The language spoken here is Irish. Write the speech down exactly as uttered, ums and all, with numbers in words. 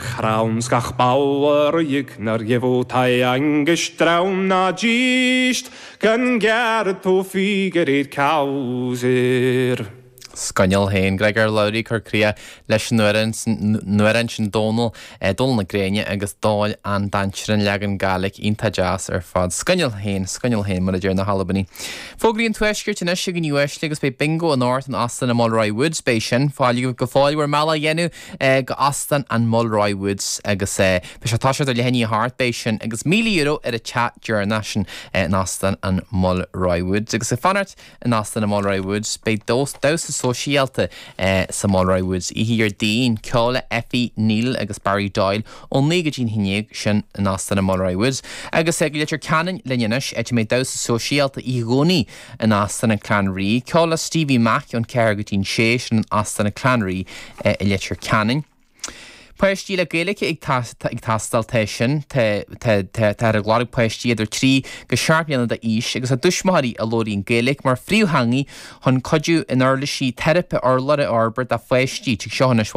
Ghrán gach bauer nar angestraun na gischt gan ger tó figeréid causir. Scoineal héin Gregor Lowry chur cria leis nuair sin Dónal eh, Dónal na Gréine agus dáil an dainsear an leagan Gàidhlig iontach deas ar fad. Scoineal héin scoineal héin mar a deir na hAlbanaigh. Fógraí an tuaiscirt anois ag an uaisle agus beidh bingo anocht in Óstán an Mulroy Woods beidh sin fáil go fáil bhur mbealach a dhéanamh eh, go Óstán an Mulroy Woods agus eh, be sé tá ar lehenní hart beidh sin agus míle euro ar a teach deireanach sin in Óstán an Mulroy Woods agus ag fanacht in Óstán an Mulroy Woods beidh damhsa sóisialta eh, sa Mulroy Woods oíche Déardaoin ceol le Effie Neil agus Barry Doyle ón naoi go dtí a haon déag sin in Óstán an Mulroy Woods. Agus ag Leitir Ceanainn linn anois ait mé damhsa sóisialta i gcónaí in Óstán an Clanree, ceol le Stevie Mac ón ceathair go dtí sé sin in Óstán an Clanree eh, i Leitir Ceanainn. Páistí le Gaeilge ag teastáil tá sin tá ag lorg páistí idir trí go seacht mbliana d'aois agus a dtuismitheoirí a labhraíonn Gaeilge mar phríomhtheanga chun cuidiú in uirlisí teiripe urlabhra a fhorbairt do pháistí tig seo anois